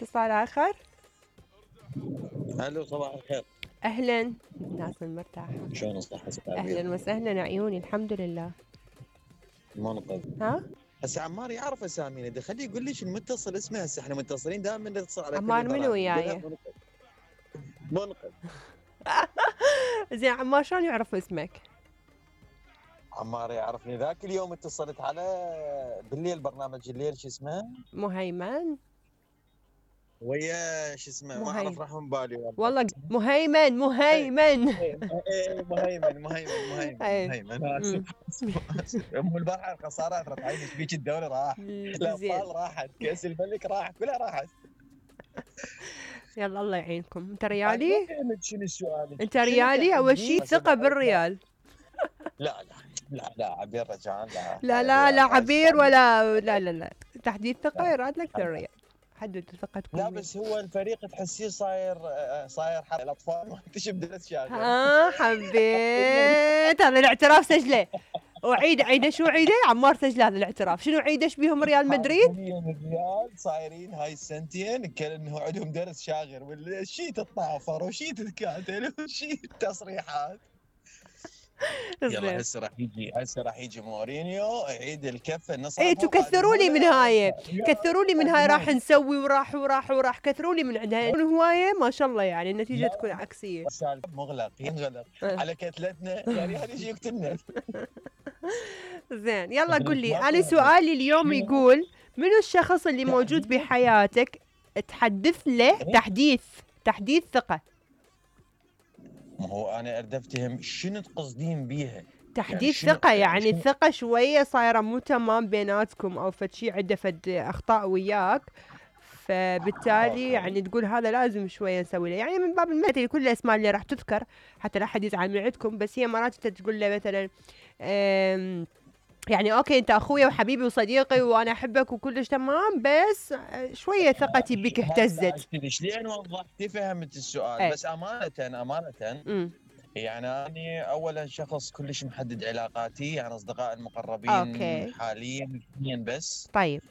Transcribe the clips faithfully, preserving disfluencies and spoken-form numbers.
اتصال آخر. الو صباح الخير. أهلا الناس المرتاحة. شلون الصحة؟ أهلا وسهلا عيوني الحمد لله. منقذ. ها؟ هسه عمار يعرف اسامينا، ده خليه يقول لي شو المتصل اسمه. هسه احنا متصلين دائما نتصل على كل عمار منو البرامج. وياي؟ منقذ. زين عمار شلون يعرف اسمك؟ عمار يعرفني، ذاك اليوم اتصلت على بالليل برنامج الليل شو اسمه؟ مهيمن. ويا شو اسمه ما اعرف راح من بالي والله. والله مهيمن مهيمن ايه مهيمن مهيمن مهيمن مهيمن. ام البارحه صارت رفعين ايش بيك الدوري راح، الاطفال راحت، كاس الملك راح، كلها راحت. يلا الله يعينكم. انت ريالي؟ شنو السؤال؟ انت ريالي اول شيء ثقه بالريال. لا لا لا لا عبير رجعان لا لا لا لا عبير ولا لا لا لا تحديد ثقه يراد لك بالريال. حدد ثقتكم. لا بس هو الفريق تحسيه صاير صاير حق الاطفال ما اكتشف درس شاغل. اه حبيت هذا الاعتراف سجله. وعيد عيده شو عيده عمار سجل هذا الاعتراف. شنو عيده ايش بيهم ريال مدريد؟ الريال صايرين هاي السنتين كانه عندهم درس شاغر ولا شيء تتطافر وشيء تتكاتل وشيء تصريحات. يلا هسه راح يجي هسه راح يجي مورينيو يعيد الكفه النص. اي تكثروا لي من هاي كثروا لي من هاي راح نسوي وراح وراح وراح كثروا لي من عندها هوايه ما شاء الله يعني النتيجه تكون عكسيه. مغلق ينغلق على كتلتنا يعني هذا يجي يقتلنا. زين يلا قل لي انا سؤالي اليوم يقول منو الشخص اللي موجود بحياتك تحدث له تحديث تحديث ثقه؟ ما هو انا اريد افتهم شنو تقصدين بيها تحديث يعني ثقه يعني الثقه شويه صايره مو تمام بيناتكم او فد شيء عنده فد اخطاء وياك فبالتالي يعني تقول هذا لازم شويه نسوي له يعني من باب المثل كل الاسماء اللي راح تذكر حتى لا احد يزعل من عندكم بس هي مرات انت تقول له مثلا يعني اوكي انت اخويا وحبيبي وصديقي وانا احبك وكلش تمام بس شويه ثقتي بك اهتزت. شلون وضحتي فهمت السؤال ايه؟ بس امانه امانه م. يعني أنا أولا شخص كلش محدد علاقاتي يعني أصدقاء المقربين أوكي. حاليا اثنين بس. طيب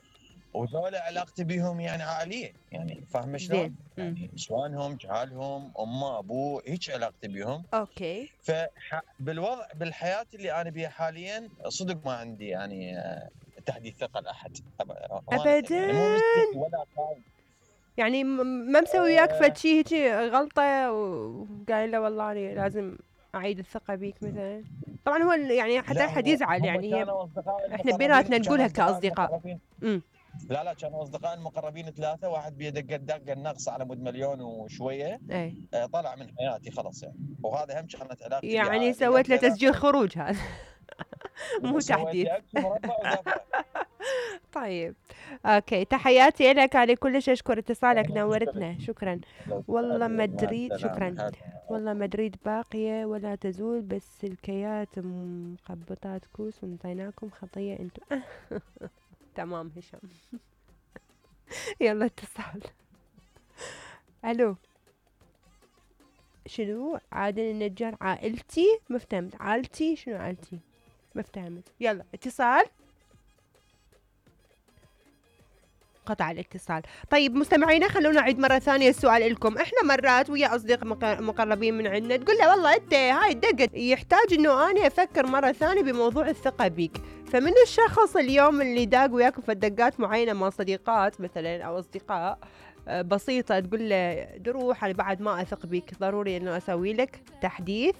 وذولا علاقتي بهم يعني عائلية يعني فاهمة شلون؟ يعني نسوانهم جهالهم أمه أبوه هيك علاقتي بهم. أوكي. فبالوضع بالحياة اللي أنا بيها حاليا صدق ما عندي يعني تحديث ثقة لأحد أبدا يعني مو ولا قايم يعني ما مسوي وياك أه فد شيء هيك غلطه وقايل له والله انا لازم اعيد الثقه بيك مثلا. طبعا هو يعني حتى احد يزعل يعني هي احنا بيناتنا نقولها كاصدقاء. امم لا لا كانوا اصدقاء المقربين ثلاثه واحد بيده دقه النقص على مود مليون وشويه ايه آه طلع من حياتي خلاص يعني وهذا هم كانت علاقتي يعني سويت له تسجيل خروج هذا مو تحديث. طيب اوكي تحياتي لك على كلش اشكر اتصالك نورتنا شكرا. والله مدريد شكرا والله مدريد باقيه ولا تزول بس الكيات مقبطات كوس ونطيناكم خطيه انتم. تمام هشام. يلا اتصال. الو شنو عادل النجار عائلتي ما فهمت عائلتي شنو عائلتي ما فهمت. يلا اتصال. قطع الاتصال. طيب مستمعينا خلونا نعيد مرة ثانية السؤال لكم. احنا مرات ويا اصدقاء مقربين من عندنا تقول له والله انت هاي الدقة يحتاج انه انا افكر مرة ثانية بموضوع الثقة بيك. فمن الشخص اليوم اللي داق وياكم في دقات معينة مع صديقات مثلا او اصدقاء بسيطة تقول له دروح انا بعد ما اثق بيك ضروري انه اسوي لك تحديث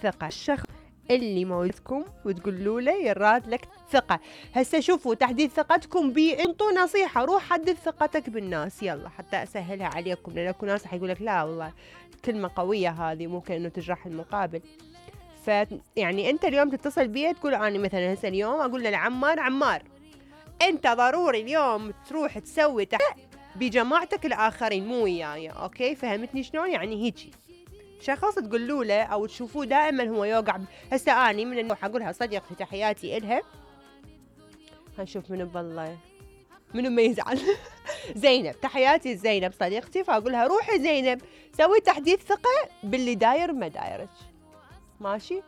ثقة. الشخص اللي موجودكم وتقولوا له يراد لك ثقة. هسه شوفوا تحديث ثقتكم بي انطوا نصيحة روح حدث ثقتك بالناس يلا حتى اسهلها عليكم لان اكو ناس حيقول لك لا والله كلمة قوية هذه ممكن انه تجرح المقابل. ف يعني انت اليوم تتصل بي تقول انا مثلا هسه اليوم اقول له عمار عمار انت ضروري اليوم تروح تسوي تحديث بجماعتك الاخرين مو وياي اوكي فهمتني شلون يعني هيجي شخص تقولوا له او تشوفوه دائما هو يوقع. هسه اني من النوع اقولها صديقتي تحياتي الها هنشوف منو بالله منو ما يزعل. زينب تحياتي زينب صديقتي فاقولها روحي زينب سوي تحديث ثقه باللي داير ما دايرك ماشي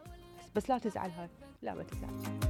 بس لا تزعل هاي لا ما تزعل.